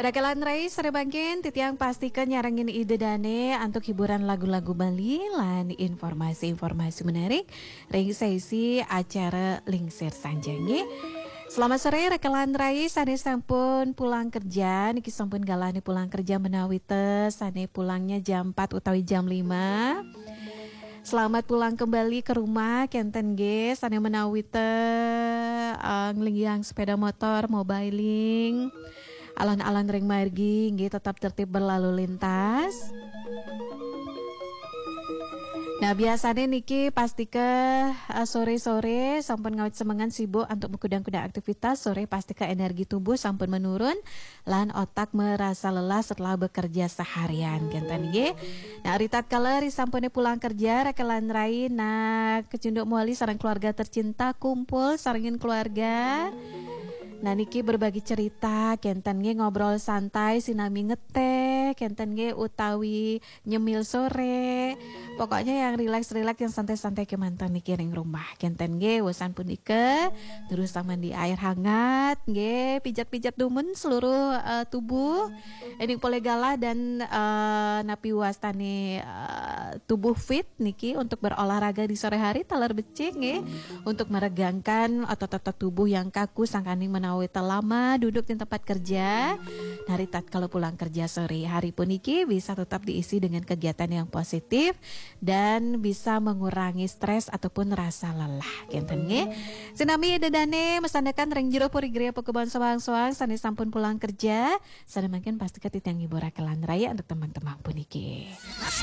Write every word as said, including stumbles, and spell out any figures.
Rakelan rai, sare mangkin titiang pastika nyarengin Ida Dane antuk hiburan lagu-lagu Bali lan informasi-informasi menarik ring sesi acara Lingsir Sanjaya. Selamat sore, rakelan rai sane sampun pulang kerja, niki sampun galahne pulang kerja menawi te sane pulangnya jam empat utawi jam lima. Selamat pulang kembali ke rumah, kenten nggih, sane menawi te, eh, nglinggihang sepeda motor, mobiling, alon-alon ring margi, nggih, tetap tertib berlalu lintas. Nah, biasane niki pastika, eh, sore-sore sampun ngawit semengan sibuk antuk makudang-kudang aktivitas, sore pastika energi tubuh sampun menurun, lan otak merasa lelah setelah bekerja seharian, kenten nggih. Nah, ri tatkala ri sampune pulang kerja, rakelan rai, nah, kecunduk mawali sareng keluarga tercinta, kumpul sarengin keluarga. Nah, niki berbagi cerita, kenten nggih, ngobrol santai, sinami ngeteh, kenten nggih, utawi nyemil sore. Pokoknya yang rileks-rileks, yang santai-santai kemanten niki ring rumah. Kenten nggih, wusan punika, terus mandi air hangat, nggih, pijat-pijat dumun seluruh, eh, tubuh. Ening polih galah dan, eh, napi wastane, eh, tubuh fit niki untuk berolahraga di sore hari, taler becik nggih, untuk meregangkan otot-otot tubuh yang kaku sangkaning menawi te lama duduk di tempat kerja. Nah, ri tatkala pulang kerja sore hari puniki bisa tetap diisi dengan kegiatan yang positif dan bisa mengurangi stres ataupun rasa lelah. Kenten nggih. Sinami Ida Dane masandekan ring jero puri griya pakuban soang-soang sane sampun pulang kerja, sane mangkin pastika titiang ngibur rakelan rai antuk tembang-tembang puniki.